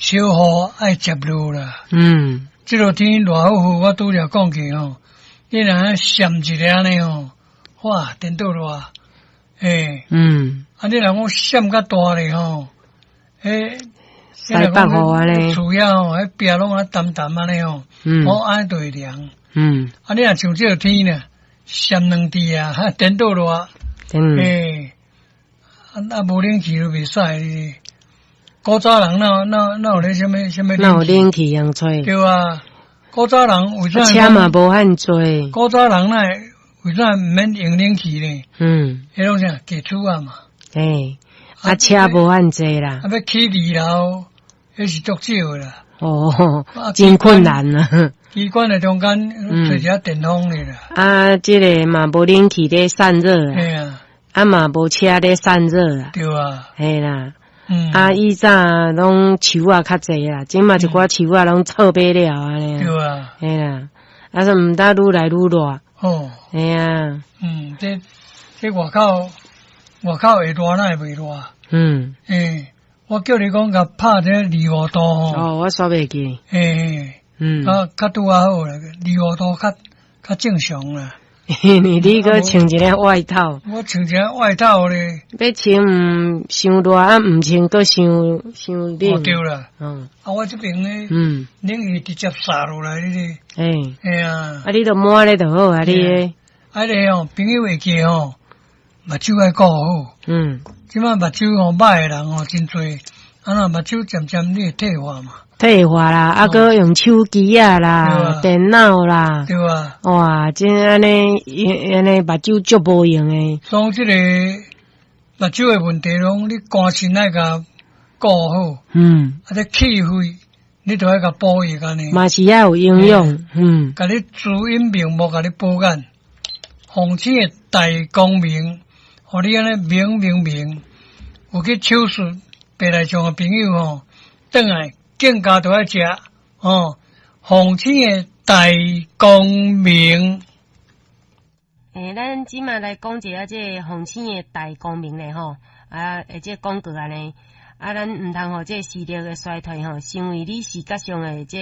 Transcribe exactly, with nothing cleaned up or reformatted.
小雨愛接落啦。嗯。這落天熱乎乎，我拄才講過吼，你若閃一下按呢吼，哇，顛倒熱，欸，嗯。啊，你若講閃較大咧吼，欸，西北雨按呢，厝遐吼，彼壁攏啊澹澹按呢吼，嗯，哦，按呢就會涼。嗯。啊，你若像這個天呢，閃兩滴啊，顛倒熱，嗯，欸，啊啊，無冷氣都袂使。古早人哪哪哪有咧啥物啥物？哪有冷氣通吹？對啊，古早人為啥？車嘛無遐濟。古早人哪會為啥毋免用冷氣呢？嗯。彼攏啥低厝仔嘛。欸，啊車無遐濟啦。啊，欲起二樓，彼是足少的啦。哦，真困難啊！機關的中間揣一個電風的啦。啊，這个嘛無冷氣咧散熱。嘿啊。啊嘛無車咧散熱啊。對啊。嘿啦。嗯。啊，以早攏樹仔較濟啦，這馬一寡樹仔攏錯買了按呢。對啊。嘿啦，啊說毋得愈來愈熱。哦。嘿啊。嗯，這這外口外口會熱，哪會袂熱？嗯。欸，我叫你講共拍這二五度吼。哦，我煞袂記。欸。嗯。較較拄仔好啦，二五度較較正常啦。你你閣穿一个外套。我穿一个外套咧。欲穿毋傷熱啊，毋穿閣傷傷冷。哦，對啦。嗯。啊，我這爿咧，嗯，冷氣直接灑落來，你咧。欸。嘿啊。啊，你著抹咧就好啊，你的。啊，个吼，朋友會記吼，目睭愛顧好。嗯。這擺目睭吼歹的人吼真濟，啊若目睭漸漸你會退化嘛。退化啦，啊，閣用手機仔啦，電腦啦，對啊，哇，真按呢，按呢目睭足無閒的。所以這个目睭的問題攏你肝腎愛共顧好，嗯，啊，這氣血你都愛共補益按呢。嘛是愛有營養，嗯，共你滋陰明目，共你補眼，鳳星的大光明，予你按呢明明明。有去手術白內障的朋友吼，轉來。更加都愛食哦，鳳星的大光明。欸，咱這馬來講一下這个鳳星的大光明咧吼，啊，或者廣告按呢，啊，咱毋通予這個視力的衰退吼，成為你視覺上的這